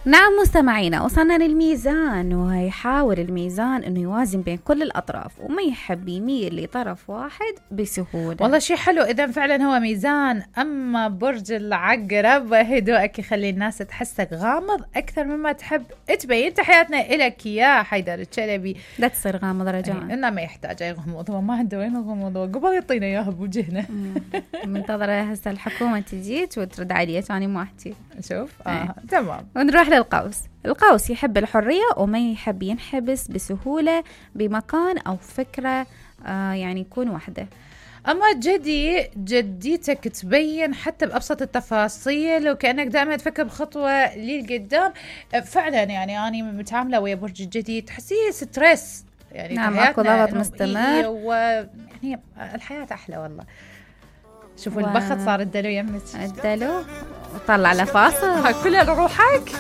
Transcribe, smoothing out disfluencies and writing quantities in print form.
نعم مستمعينا، وصلنا للميزان، ويحاول الميزان انه يوازن بين كل الاطراف وما يحب يميل لطرف واحد بسهولة. والله شيء حلو اذا فعلا هو ميزان. اما برج العقرب هدوءك يخلي الناس تحسك غامض اكثر مما تحب تبين. تحياتنا لك يا حيدر الشلبي. لا تصير غامض رجاء. انه ما يحتاج اي غموض، هو ما عنده وين غموض قبل يعطينا اياها بوجهنا. منتظرة هسه الحكومة تجي وترد علي، ثاني ما احكي. شوف تمام. ونروح للقوس. القوس يحب الحرية وما يحب ينحبس بسهولة بمكان أو فكرة، يعني يكون وحده. أما جديتك تبين حتى بأبسط التفاصيل، وكأنك دائما تفكر بخطوة للقدام. فعلا يعني أنا متعاملة ويا برج الجدي تحسيه ستريس، يعني نعم أكو ضغط مستمر، ويعني الحياة أحلى والله. شوفوا البخت صار الدلو يمك، الدلو وطلع لفاصل كلها روحك.